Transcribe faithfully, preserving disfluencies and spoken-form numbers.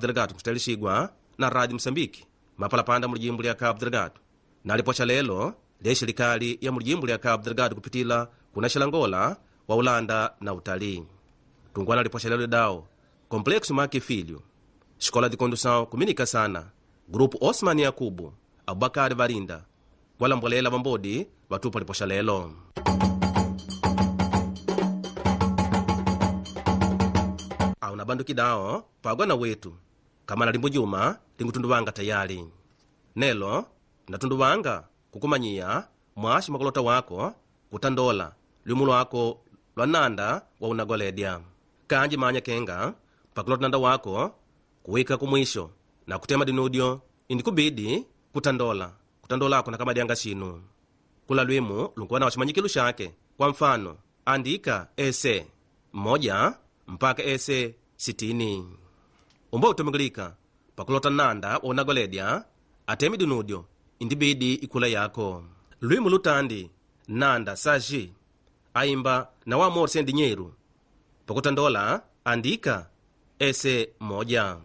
Delgado kutayarishigwa na Radio Msambiki mapalapanda mulijimbo lya Cabo Delgado naliposha lelo lya serikali ya mulijimbo lya Cabo Delgado kupitila kuna Xalangola wa Ulanda na utalii tungwana liposha lelo dao Complexo Maque Filho Escola de Condução kuminika sana Grupo Osman Yakubu Abubakar Varinda walambolela vambodi vatupa liposha lelo. Auna banduki dao pagwa wetu kama na limbo juma lingutunduvanga tayari nelo natunduvanga kukumanyiya mwashi makolota wako kutandola lumu lwako lwa nanda wa unagoledya kanji manya kenga pakulota nanda wako kuwika kumwisho na kutema dinudyo indikubidi kutandola kutandolako na kamadyanga xinu kula lwimu lunkuwa na ximanyikilu xake kwa mfano andika ese mmoja mpaka ese sitini umba utumikilika pakulota nanda wa unagoledya atemi dinudyo indibidi ikula yako lwimu lutandi nanda saji aimba na wamorse ndinyeru pakutandola andika ese moja.